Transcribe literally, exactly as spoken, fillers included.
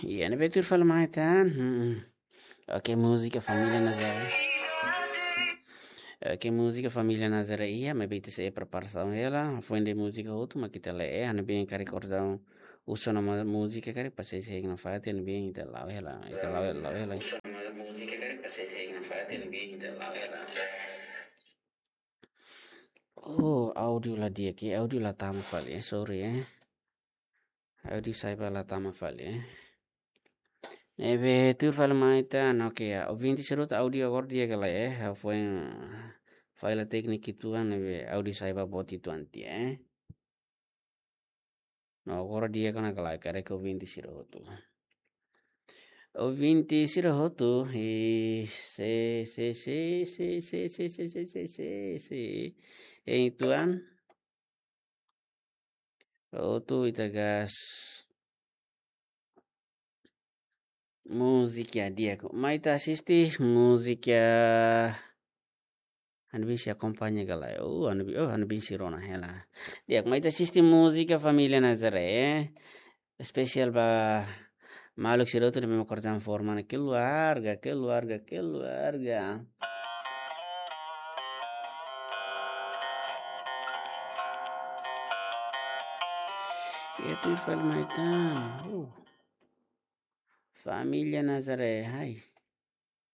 Iha ne'ebé tuir fali mai tan. Hmm. Oke, múzika Família Nazaré. Oke, múzika Família Nazaré iha, maibé ita sei preparasaun hela, foin de'it múzika hotu, mak ita lee, eh, ha'u-nia biin karik orsida uso nama múzika karik, pasai sei nafatin, ha'u-nia biin ita la'o hela, ita la'o, la'o hela. Uso nama múzika karik, pasai sei nafatin, ha'u-nia biin ita la'o hela. Oh, áudiu la di'ak, eh, áudiu la tama fali, eh, sorry, eh. Áudiu sa'e ba la tama fali, eh. Ne'ebé tuir fali mai tan, oke, ya. Ouvinte sira hotu, áudiu agora di'ak ka lae, eh. Ha'u foin, eh, falla téknika uitoan, ne'ebé áudiu sa'e ba boot uitoan tiha, eh. No, agora di'ak ona ka lae, karik ouvinte sira hotu. Ouvinte sira hotu, eh, se, se, se, se, se, se, se, se, se, se, se. Eh, uitoan. Hotu ita gas. Múzika di'ak. Mai ita asiste múzika. Ha'u-nia biin sei akompaña ka lae. Oh, ha'u-nia biin, oh, ha'u-nia biin sei rona hela. Di'ak, mai ita asiste múzika Família Nazaré. Espesiál ba maluk sira hotu ne'ebé mak orsida forma ne'e, keluarga, keluarga, keluarga. Iha tuir fali mai tan. Uh. Família Nazaré, hai.